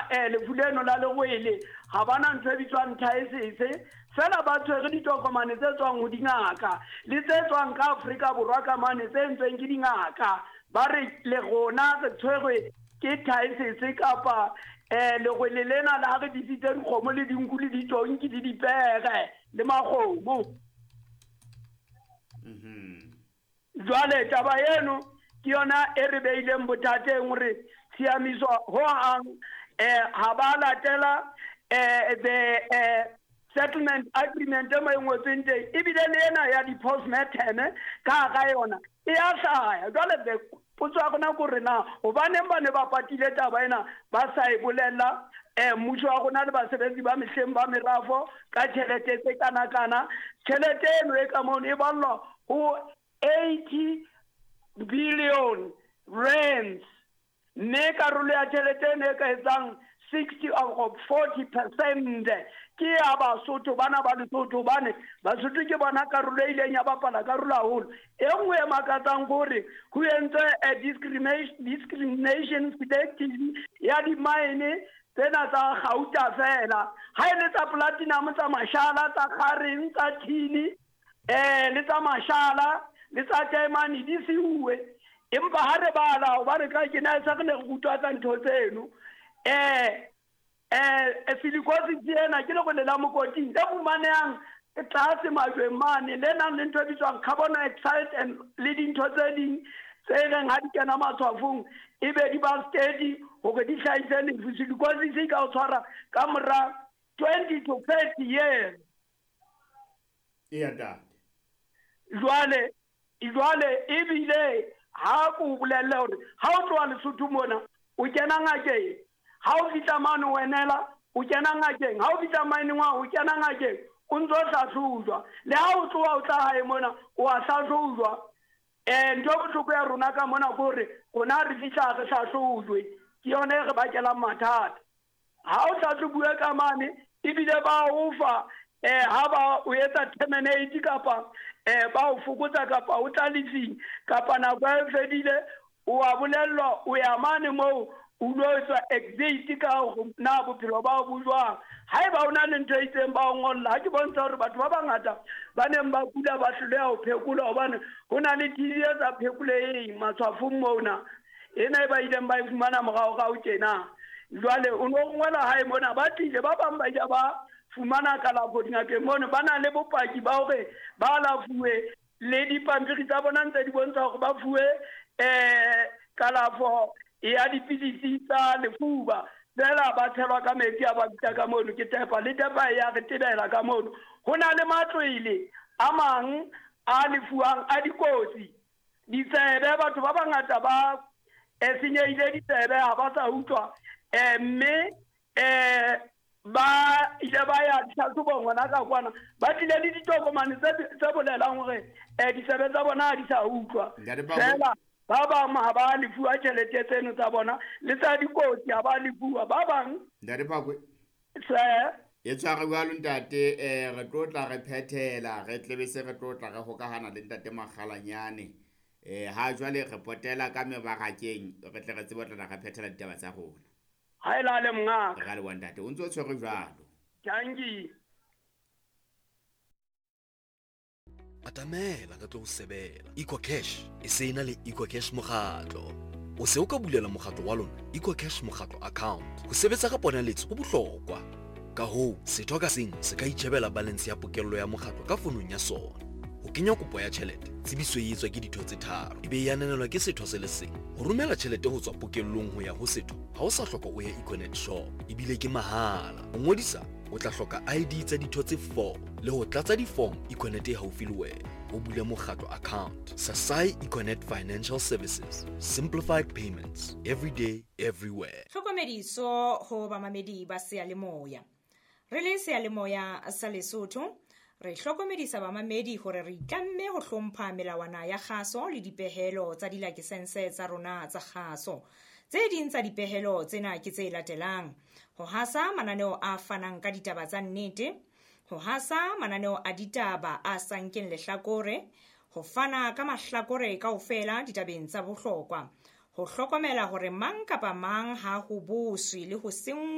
lefu leno la lerwele, ha ba na ntho e bitswang thaesese. Feela ba tshwere ditokomane tse tswang ho dingaka le tse tswang ka Afrika Borwa ka mane tse entsweng ke dingaka. Ba re le rona re tshwerwe ke thaesese kapa lerwele lena le ha re disitse dikgomo le dinku le ditonki le dipere le makgomo. Jwale taba eno ke yona e re beileng bothateng hore tshiamiso ho hang ha ba latela the settlement agreement e mo e ngotsweng teng, ebile le ena ya di-postmortem ka hara yona e a hlaya. Jwale the potso ya rona ke hore na hobaneng ba ne ba patile taba ena ba sa e bolella mmuso wa rona le basebetsi ba mehleng ba merafo ka tjhelete tse kana-kana. Tjhelete eno e ka mono e ballwa ho 80 billion rands, mme karolo ya tjhelete eno e ka etsang 60 or 40% ke ya Basotho, bana ba Lesotho, hobane Basotho ke bona karolo e ileng ya bapala karolo haholo. E nngwe e makatsang ke hore ho entswe a discrimination selective ya di-mine tsena tsa gauta fela. Ha e le tsa platinum, tsa mashala, tsa kgareng, tsa thini, le tsa mashala, le tsa taemane di siuwe. Empa ha re bala, hobane ka ke na sa re ne re rutwa tsa ntho tseno, silicosis ena ke lerole la mokoting le fumanehang tlase majweng mane, le nang le ntho e bitswang carbon dioxide and le dintho tse ding tse reng ha di kena matshwafong e be di ba steady hore di hlahise lefu. Silicosis e ka o tshwara ka mora 20 to 30 years. Eya ntate. Jwale ebile ha ko bolelle hore ha o tloha Lesotho mona o kena ngakeng, ha o fihla mane o enela o kena ngakeng, ha o fihla mane wa o kena ngakeng o ntso hlahlojwa, le ha o tloha o tla hae mona o a hlahlojwa. Ntho e bohloko ya rona ka mona ke hore rona re fihla re hlahlojwe, ke yona e re bakelang mathata. Ha o hlahlobuwe ka mane ebile ba o fa ha ba o etsa terminate kapa ba o fokotsa kapa o tla lefing kapa nako e fedile, o a bolellwa o ya mane moo o lo etswa exit ka hore na bophelo ba bo jwang. Haeba o na le ntho e itseng ba o ngolla. Ha ke bontsha hore batho ba bangata ba neng ba kula ba hloleha ho phekolwa hobane ho na le TB e sa phekoleheng matshwafong mona, ena e ba ileng ba e fumana moraorao tjena. Jwale o no rongwela hae mona, ba tlile ba bang ba ile ba fumana kalafo dingakeng mono, ba na le bopaki ba hore ba alafuwe le dipampiri tsa bona ntse di bontsha hore ba fuwe kalafo ya dipidisi tsa lefuba, fela ba tshelwa ka metsi a ba bitsa ka mono ke tepa, le tepa ya re tebela ka mono. Ho na le matlwele a mang a lefuwang a dikotsi, ditsebe, batho ba bangata ba senyehile ditsebe ha ba sa utlwa, mme ba ile ba ya tlhahlobong hona ka kwana, ba tlile le ditokomane tse bolelang hore ditsebe tsa bona ha di sa utlwa. Fela ba bang ha ba lefuwa tjhelete tseno tsa bona, le tsa dikotsi ha ba lefuwa ba bang. Ntate Phakwe. Se e tshware jwalo ntate, re tlo tla re phethela, re tlebe se re tlo tla re hokahana le ntate Makgalanyane. Ha jwale re potela ka mebarakeng, re tle re tsebe ho tla re phethela ditaba tsa rona. Ha e lale mongaka. Re a leboha ntate, o ntso o tshwere jwalo. Dankie. Atamela re tlo o sebela. EcoCash e se ena le EcoCash mokgatlo. O se o ka bulela mokgatlo wa lona EcoCash mokgatlo account. Ho sebetsa ka ponaletso ho bohlokwa. Ka hoo, setho ka seng se ka itjhebela balance ya pokello ya mokgatlo ka fonong ya sona. Ho kenya kopo ya tjhelete, tsebiso e etswa ke ditho tse tharo, e be e ananelwa ke setho se le seng. Ho romela tjhelete ho tswa pokellong ho ya ho setho, ha o sa hloka o ye Econet shop, ebile ke mahala. Ho ngodisa, o tla hloka ID tsa ditho tse 4 le ho tlatsa di-form Econet e haufi le wena. O bule mokgatlo account. Sasai Econet Financial Services. Simplified payments. Every day, everywhere. Tlhokomediso ho bamamedi ba seyalemoya. Re le seyalemoya sa Lesotho, re hlokomedisa bamamedi hore re itlamme ho hlompha melawana ya kgaso le dipehelo tsa dilakesense tsa rona tsa kgaso. Tse ding tsa dipehelo tsena ke tse latelang: ho hasa mananeo a fanang ka ditaba tsa nnete, ho hasa mananeo a ditaba a sa nkeng lehlakore, ho fana ka mahlakore kaofela ditabeng tsa bohlokwa, ho hlokomela hore mang kapa mang ha ho boswe le ho senngwa.